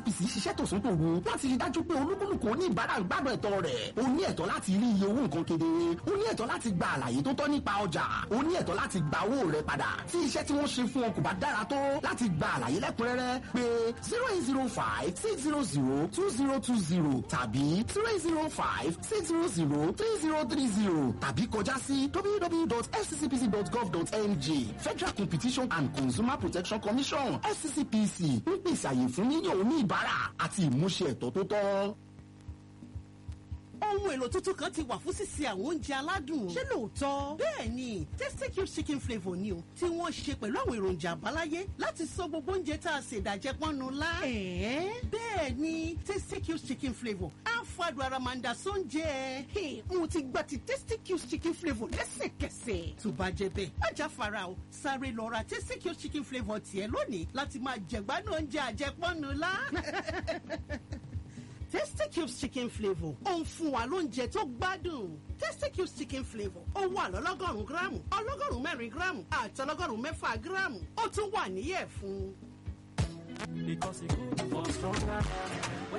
FCCPC ṣiṣẹ́ tòsán tòru láti rí dájú pé olúkúlùkù oníbàárà ń gbádùn ẹ̀tọ́ rẹ̀. O ní ẹ̀tọ́ láti rí iye owó nǹkan kedere. O ní ẹ̀tọ́ láti gba àlàyé tó tọ́ nípa ọjà. O ní ẹ̀tọ́ láti gba owó rẹ padà. Tí iṣẹ́ tí wọ́n ṣe fún ọ kò bá dára tó, láti gba àlàyé lẹ́kùnrẹ́rẹ́ pé 08056002020 tàbí 08056003030 tàbí kọjá sí www.fccpc.gov.ng. Federal Competition and Consumer Protection Commission, FCCPC, ń pèsè àyè fún yíyan oníbàárà àti ìmúṣẹ ẹ̀tọ́ tó tọ́. Ohun èlò tuntun kan ti wà fún sísè àwọn oúnjẹ aládùn. Ṣé lóòótọ́? Bẹ́ẹ̀ ni, Tasty Cube chicken flavour ni o, tí wọ́n ṣe pẹ̀lú àwọn èròjà àbáláyé láti sọ gbogbo oúnjẹ tá a ṣe ìdàjẹ́ pọ́nnu lá. Bẹ́ẹ̀ ni, Tasty Cube chicken flavour á fàdùn ara máa ń da sóúnjẹ. Hey, mo ti gba ti Tasty Cube chicken flavour lẹ́sẹ̀kẹsẹ̀. Tó bá jẹ́ bẹ́ẹ̀, má já fara o, sáré lọ ra Tasty Cube chicken flavour tiẹ̀ lónìí láti máa jẹ̀gbádùn oúnjẹ àjẹpọ́nnu lá. Tasty Cubes chicken flavour ó ń fún wa lóúnjẹ tó gbádùn. Tasty Cubes chicken flavour ó wà lọ́lọ́gọ́rùn-ún gíráàmù, 106 gíráàmù àti 106 gíráàmù. Ó tún wà níyẹ̀ fún. Because e good for stronger.